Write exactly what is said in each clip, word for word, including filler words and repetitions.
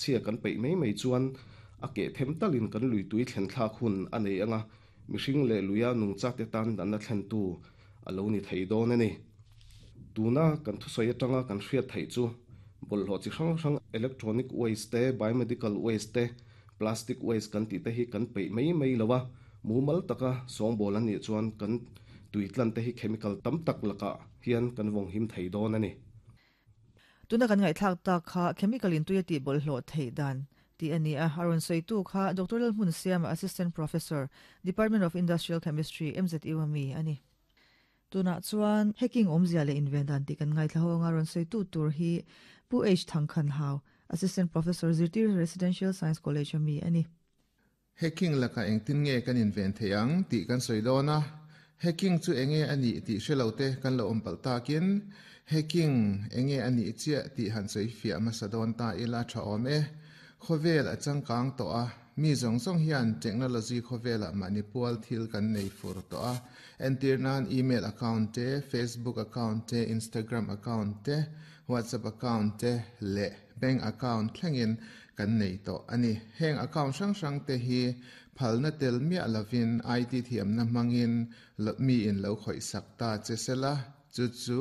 Chhia kan peih mai mai chuan a keh them talin kan lui tui thlen thlak hun a nei anga, mihring leh luia nungchate tan natna thlentu a lo ni thei dawn a ni. Tuna kan thusawi atanga kan hriat theih chu bawlhhlawh chi hrang hrang electronic waste te, biomedical waste te, plastic waste kan tih te hi kan peih mai mai lo a, mumal taka sawngbawl an nih chuan kan tui tlan te hi chemical tam tak lakah hian kan vawng him thei dawn a ni. Tuna kan ngaihthlak tak kha chemical in tui a tih bawlhhlawh theih dan tih a ni a, a rawn sawitu kha Doctor Lalhmunsiama, Assistant Professor, Department of Industrial Chemistry, M Z U ami a ni. Tunah chuan hacking awmzia leh inven dan tih kan ngaithla ho anga, rawn sawitu tur hi Pu H Thangkhan Hau, Assistant Professor, Zirtir Residential Science College ami a ni. Hacking laka engtin nge kan inven thei ang tih kan sawi dawn a. Hacking chu enge ani tih hrelo te kan lo awm palh takin hacking enge ani chiah tih han sawi fiah hmasa dawn ta ila tha awm e. Khawvel a changkang tawh a, mi zawng zawng hian technology khawvelah mahni pual thil kan nei fur tawh a. Entir nan email account te, Facebook account te, Instagram account te, WhatsApp account te leh bank account thlengin kan nei tawh ani. Heng account hrang hrang te hi phalna tel miah lovin I T thiamna hmangin mi in lo khawih sak ta che sela, chu chu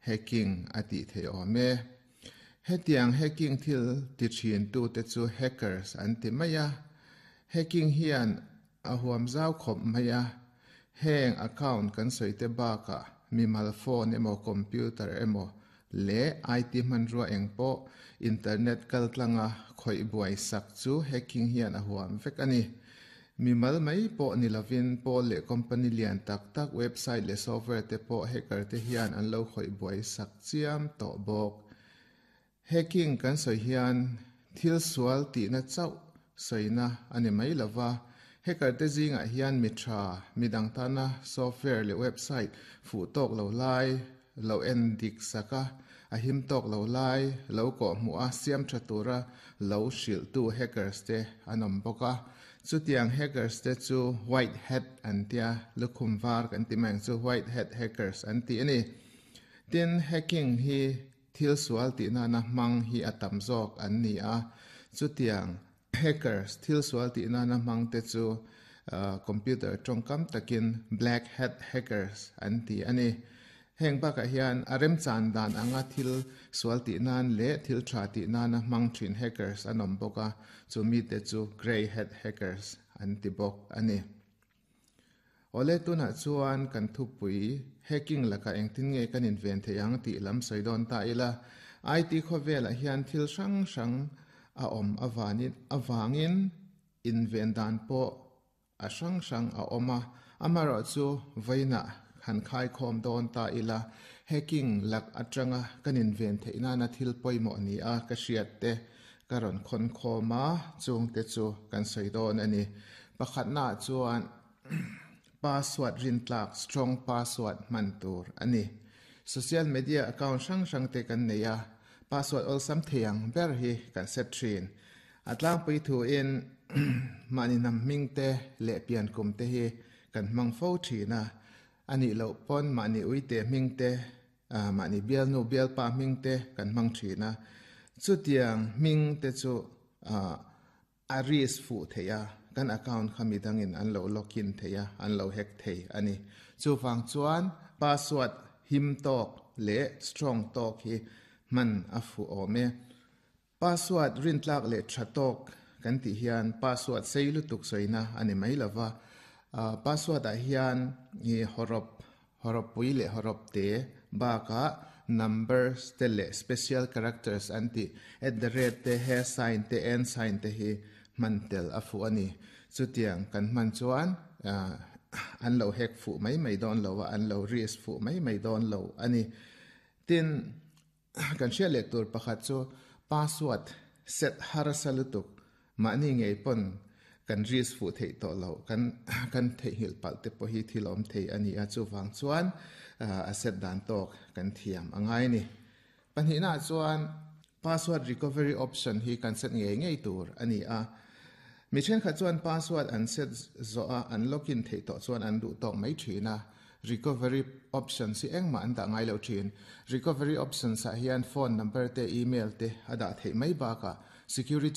hacking a tih thei awm e. Hetiang hacking thil ti thin tu te chu hackers an ti mai a. Hacking hian a huam zau khawp mai a. Heng account kan sawi te bakah mimal phone emaw, computer emaw leh I T hmanrua engpawh internet kaltlanga khawih buai sak chu hacking hian a huam vek ani. Mimal mai pawh ni lovin pawl leh company lian tak tak website leh software te pawh hacker te hian an lo khawih buai sak chiam tawh bawk. Hacking kan sawi hian thil sual tihna chauh sawina ani mai lova. Hacker te zingah hian mi tha, midang tana software leh website fuh tawk lo lai lo en dik saka, a him tawk lo lai lo kawh hmuh a, siam tha tura lo hrilh tu hackers te an awm bawk a. Chutiang hackers te chu white hat an tia, lukhum var kan ti mai ang chu, white hat hackers an ti ani. Tin, hacking hi thil sual tih nana hmang hi a tam zawk an ni a. Chutiang hackers thil sual tih nana hmang te chu computer tawngkam takin black hat hackers an ti ani. Heng bakah hian a remchan dan anga thil sual tih nan leh thil tha tih nana hmang thin hackers an awm bawk a, chu mi te chu grey hat hackers an ti bawk ani. Ole, tunah chuan kan thupui hacking laka engtin nge kan inven thei ang tih lam sawi dawn ta ila. I T khawvelah hian thil hrang hrang a awm awanin awangin inven dan pawh a hrang hrang a awm a. Amarawh chu vawiinah han khai khawm dawn ta ila, hacking lak atanga kan inven theih nana thil pawimawh ni a ka hriat te ka rawn khawn khawm a, chung te chu kan sawi dawn ani. Pakhatna chuan password rintlak, strong password hman tur ani. Social media account hrang hrang te kan nei a, password awlsam theiang ber hi kan set thin. A tlangpui thu in mahni nam hming te leh pian kum te hi kan hmang fo thin a. Ani lo pawn mahni uite hming te, mahni bialnu bialpa hming te kan hmang thin a. Chutiang hming te chu a risk fu theia, kan account kha midangin an lo login theia, an lo hack thei ani. Chuwang chuan password him tawk leh strong tawk hi man a fu awm e. Password rintlak leh tha tawk kan tih hian password sei lutuk soina ani mai lova. Password ah hian hi horop horop pui leh horop te baka numbers te leh special characters an ti, at the rate te, hash sign te, and sign te hi man tel a fu ani. Chutiang kan man chuan an lo hack fu mai mai dawn lo a, an lo risk fu mai mai dawn lo ani. Tin, kan hriat leh tur pakhat chu password set har salutuk mahni ngei pon kan risk fu thei to lo, kan kan thei hil pal te pawh hi thil awm thei ani a. Chuwang chuan a set dan tawk kan thiam angai ni. Pahnih na chuan password recovery option hi kan set ngei ngei tur ani a. Mi then kha chuan password an set zo a, an login thei to chuan an duh tawk mai thina, recovery option si engma an dah ngai lo thin. Recovery options ah hian phone number te, email te ada thei mai baka Security